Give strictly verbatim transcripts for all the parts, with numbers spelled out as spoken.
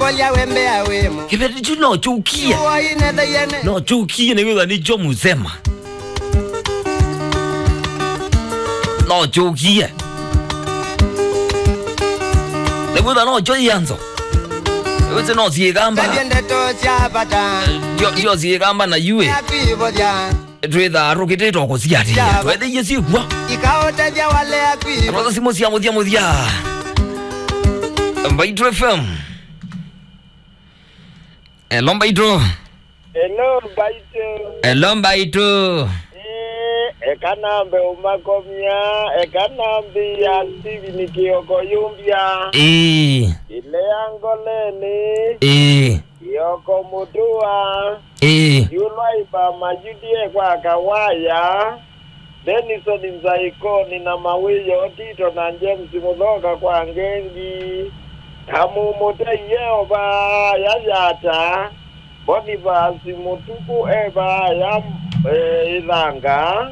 Kĩveti kyu no kyũkie. No kyũkie, nĩwĩtha nĩkyo mũsema. No kyũkie. Nĩwĩtha no kyo ianzo. Nĩwĩsĩ no syĩkamba. Ndio, ndio syĩkamba na yue. Twĩthaa tũkĩtĩtwa kũsiatĩĩa. Twethĩie syĩkw'a. Ikaũtethya wale akwi. Another simũ sya mũthya mũthya. Mbaitũ F M. Hello, Mbaitũ. Hello, Mbaitũ. Hello, Mbaitũ. Eh, eka nambe ũmakomya, eka nambe ya Steven Kioko Yumbia. Ĩĩ. Ile ya Ngoleni. Ĩĩ. Kioko Mutua. Ĩĩ. Yulwa ipa Mayuti e kwa Kawaya. Denison Nzaikoni na Mawĩyo Tito na James Mũthoka kwa Ngengi, na Mũmũtei Yeova ya Yata, Bonifasi Mũtuku e vaya, e, Ĩthanga,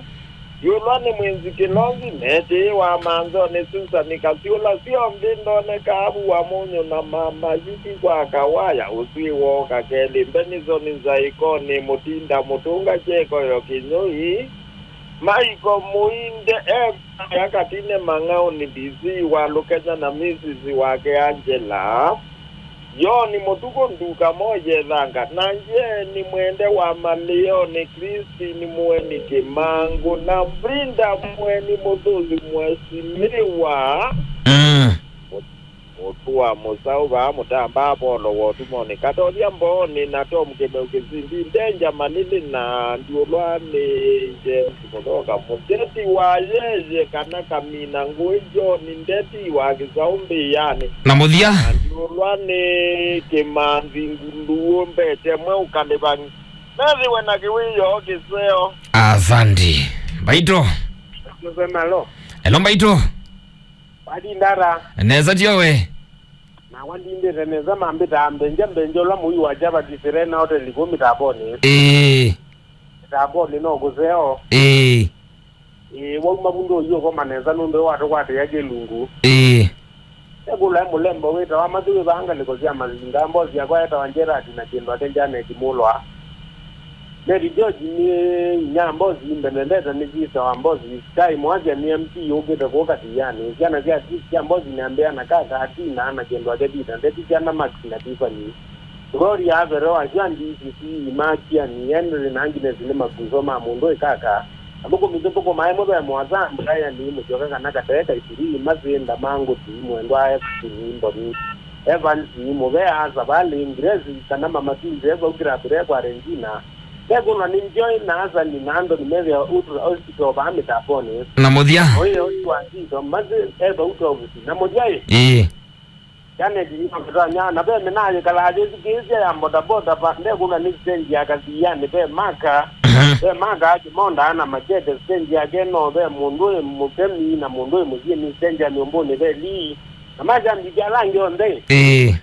yũlwa nĩ Mwĩnzi Kĩlonzi, Metĩĩ wa Manzonĩ, Susani Kasyũla, syonthe ndonekaa vu wa mũnyũ na mama Yuti kwa Kawaya, ũswĩ wooka kelĩ, Denison Nzaikoni, Mũtinda Mũtũnga, Kyeko yo Kĩnyũi, Maiko Mũinde e vaya Katine Mang'aũnĩ, D C wa Lũkenya na Misisi wake Angela. Yoni Mũtukũ Nduka Moye Thanga, na Njeni Mwende wa Malĩonĩ, Christine Mũeni Kĩmangũ, na Brinda Mũeni Mũthũsi Mwesimĩwa. Mm. Mũtua mũsaũ vaa Mũtamba Apolo wa Ũtumonĩ, Katothya Mboonĩ na Tom Kĩmeu Kĩsindi, Ndenja Malili na Ndiũlwa nĩ James Mũthoka, Mũteti wa Yeye kana Kamina Ngũĩ, John Ndeti wa Kĩsaũ Mbĩanĩ. Na mũthya. Na Ndiũlwa nĩ Kĩmanthi Nguluu Mbete Mweu Kalĩvang'i. Methĩwe na kĩwĩoo kĩseo. Asante. Mbaitũ. Mzee Malo. Hello, Mbaitũ. Watinda ata? Nesa tyo we. Nakwa ndindĩte nesa, mambĩtaa Mbenja, Mbenja ũla mũi wa Java Disirena Hotel kũu Mĩtambonĩ. Ĩĩ. Mĩtambonĩ no kũseo. Ĩĩ. Ĩĩ, wauma vu ndũi ũkoma nesa nũndũ watũkwatĩĩa kĩlungu. Ĩĩ. Ekũla e mũlembo wĩtawa Matthew wĩ vaa ngalĩko sya Masinga, mbosi yakwa etawa Gerard na kĩndũ ake Janet Mulwa. Mary George nĩ inya mbosi, Mbendendeta nĩ sister wa mbosi, Sky Mwasya nĩ M P ũkĩte kũũ Katianĩ. Syana sya, sya mbosi nĩ Ambea na Kaka, Atina na kĩndũ ake Peter, Ndeti syana Max na Tiffany. Gloria Avero, Asha D C C, Imakiani, Henry na Agnes nĩ makuso ma mũndũ ĩ Kaka. Athũkũmi tũthũkũmaa ĩmwe ve Moasa, Brian Mũsyoka kana Katee Kaisiri, Masinda ma Ngũti, Mwendwa F C Mboni. Evans Mũvea, Savali, Grace, kana Mama Twins, e vau kĩrambĩre kwa Regina. Mekũnwa nĩ Joy na Hasani na Anthony Methia Utra Hospital vaa Mĩtambonĩ. Na mũthya. Oye ũsu wa Tito, Masi, e vau Tovusi. Na mũthya ĩ. Ĩĩ. Janet Nyong'etanya, na ve mĩnaa yĩkalaa yĩthukĩĩsya ya bodaboda va, ndekũnwa nĩ stage ya Kathianĩ, ve Maka, mhm, ve Maka, Kĩmonda na Machete, stage yake no ve mũndũ ĩ mũthemi na mũndũ ĩ mũsyĩnĩ, stage ya nyũmbũnĩ ve Lee. Na masyambiki ala angĩ onthe. Ĩĩ.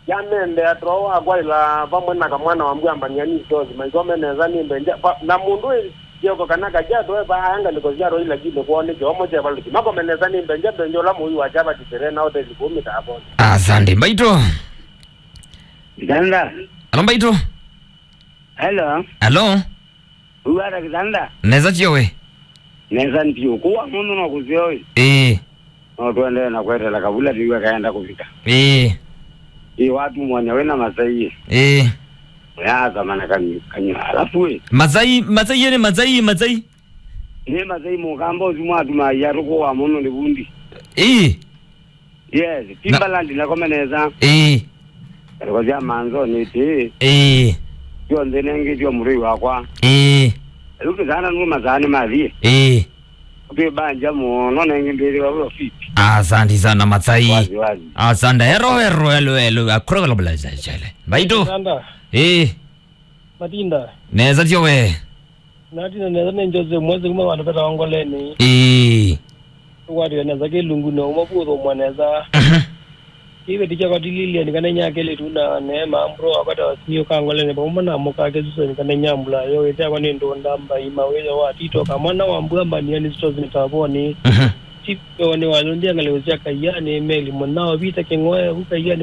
Yamendea too wakwaĩla vamwe na kamwana wa mbua mbania ni stores, maikome nesa nĩ mbenja. Va-, na mũndũ ĩ Kioko kana Kajato e vaa ngalĩko sya Roi lakini kwoo nĩ kĩomo kyevalũki. Makome nesa nĩ mbenja mbenja ũla mũi wa Java Disirena Hotel kũu Mĩtambonĩ. Asante, Mbaitũ. Ndanda. Alo, Mbaitũ. Hello. Alo. Uwata kitanda. Nesa tyo we. Nesa ndio. Kuwa mũndũ no kũseo ĩ. Ĩĩ. No tũendee na kwetela kavula tĩw'a kaenda kũvika. Ĩĩ. Ĩĩ, watumwanya wĩna masai ĩ. Ĩĩ. Ũyathama na kanyu-, kanyua. Alafu ĩ. Masai, masai ĩ nĩ masai, masai. Nĩ masai mũkamba ũsu mwatumaa iatũ kũwa mũno nĩ vundi. Ĩĩ. Yes, na Timberland nakomeneza. Ĩĩ. Ngalĩko sya Manzoni ĩtĩ. Ĩĩ. Syonthe nengĩ syo mũtũi wakwa. Ĩĩ. Rĩu tũsana nũma saa nĩ mathiĩ. Ĩĩ. Ũtwĩbanja mũno nengĩ ndĩthĩwa wĩ ofiti. Asante sana, Masai. Wazi, wazi. Asante. Ero, ero, elo, elo. Akura kala bula chele. Mbaitũ. Sanda. Ĩĩ. Matinda. Nesa tyo we. Natina nesa nĩ Jose Mwezi kuma vandu vetawa Ngoleni. Ĩĩ. Tũkwatĩwe nesa kĩlungu na ũmwe vuthũmwa nesa. Mhm. Kĩveti kyakwa ti Lilian kana inya kelĩtu na Neema, mbro wakwa ta Wasimio ka Ngoleni, vamwe na mũka Kĩsuseni kana inya mbula yo, ĩthe yakwa nĩ Ndũnda Mbai, Mawĩyo wa Tito, kamwana wa mbua mbania nĩ Stores Mĩtambonĩ. Mhm. Chief Yoni wa Lũndĩa ngalĩko sya Kaiani, Meli Mũnao, Vita Kĩng'oe, vu Kaiani.